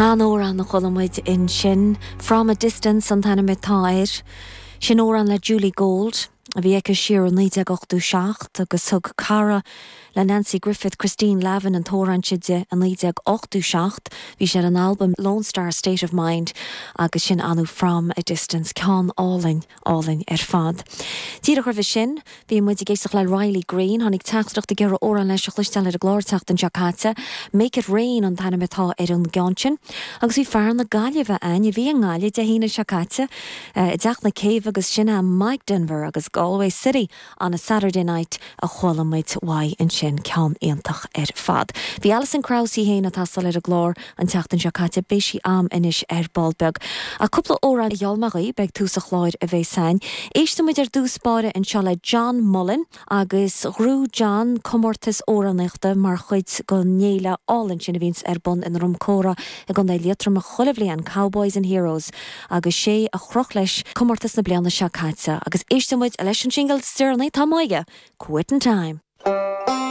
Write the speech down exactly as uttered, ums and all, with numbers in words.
An amhrán a chuala muid ansin From a Distance an t-ainm atá air. Sin amhrán le Julie Gold a bhí aici siar i naoi déag ochtó seacht agus thug cara le Nancy Griffith Christine Lavin an t-amhrán seo di i naoi déag ochtó seacht, bhí sé an album Lone Star State of Mind agus sin anu From a Distance ceann álainn álainn ar fad. Díreach roimhe sin, bhí muid ag éisteacht le Riley Green tháinig teachtaireacht ag iarraidh amhrán leis a chloisteáil ar an gclár an tseachtain seo caite, Make it Rain an t-ainm atá ar an gceann sin, agus bhí fear na Gaillimhe ann a bhí i nGaillimh Dé hAoine seo caite i dTeach na Céibhe agus sin é Mike Denver agus Galway City on a Saturday night a chuala muid uaidh ansin ceann iontach ar fad. Bhí Alison Krauss í féin ag taisteal ar an gclár an tseachtain seo caite beidh sí a'm anois ar ball beag. A cúpla amhrán a gheall mé dhaoibh beidh tús an chláir a bheith sain. Éistfidh muid ar dtús báire anseo le John Mullen agus ghnóthaigh John comórtas amhránaíochta mar chuid den fhéile álainn sin a bhíonns ar bun i nDroim Córa i gContae Liatroma chuile bhliain Cowboys and Heroes agus sé a chroch leis comórtas na bliana seo caite agus éistfidh muid leis an singil is deireanaí atá aige, Quitting Time.